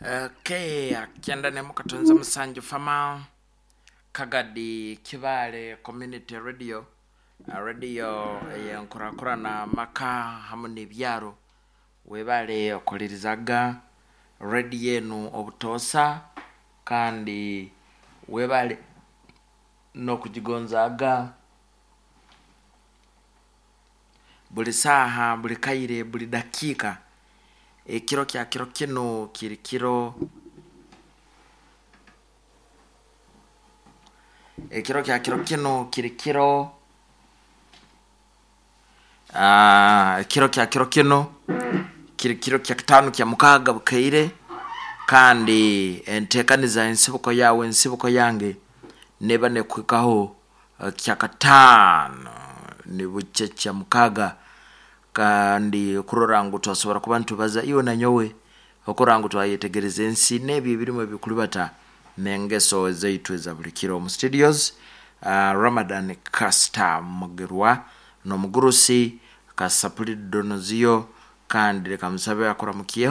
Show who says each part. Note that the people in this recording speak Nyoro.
Speaker 1: Okay, 97 fama Kagadi Kibale Community Radio, radio eyenkurakurana maka hamu n'ebyaro. Webale okulirizaga radio enu obutoosa, kandi webale n'okugigonzaaga buli saaha, buli kaire, buli dakiika. Ekiro kya kiro kinu kiri kiro, ekiro kya kiro kinu kiri kiro, ekiro kya kiro kinu kiri kiro kya kitaano kya mukaaga bukaire, kandi enteekaniza ensibuko yaawe ensibuko yange neeba nekuhikaho kyakataano nibukya kya mukaaga, kandi kurora ngu twasobora kuba nitubaza iwe na nyowe okurora ngu twayetegereza ensi n'ebi ebirimu ebikulibata n'engeso zaitu eza buli kiro. Omu studios Ramadan Castor Mugerwa n'omugurusi Kasapuli Donozio, kandi leka musabe akuramukyeho.